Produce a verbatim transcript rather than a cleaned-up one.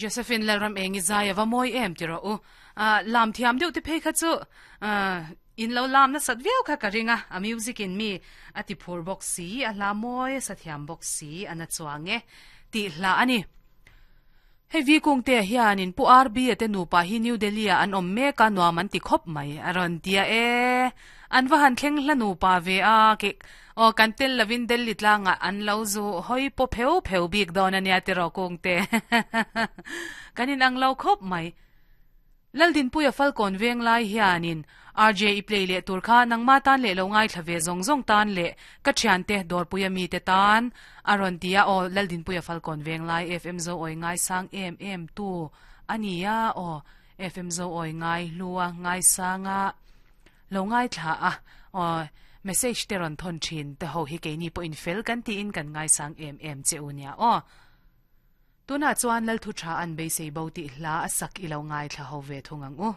Josephine Lalram engi zai ava mawi em ti rawh u. Ah, lam thiam deuh te phei kha chu ah, in lo lam na sat viau kha ka ring a, a music in mi a ti phur bawk si, a hla mawi a sa thiam bawk si, a na chuang e tih hla a ni. Hei vi kung te hianin Pu RB a te nupa hi New Delhi ah an awm mek a, nuam an ti khawp mai a rawn tia e. An va han thleng hla nupa ve a, ke aw kan tel lovin Delhi tlangah an lo zu hawi paw pheu pheu bik dawn a nia tiraw kung te. Kan inang lo khawp mai. Laldinpuia Falkawn veng lai hianin R J i play leh tur kha nangma tan leh lo ngaithla ve zawng zawng tan leh ka thiante Dawrpuia mite tan a rawn ti a, aw Laldinpuia Falkawn veng lai F M Zo awi ngaisang em em tu a ni a, aw F M Zo awi ngai hlua ngaisanga lo ngaithla a, aw message te rawn thawn thin te ho hi keini pawhin fel kan tiin kan ngaisang em em che u nia aw. Tunah chuan Lalthu tha an beisei bo tih hla a sak i lo ngaithla ho ve thung ang u.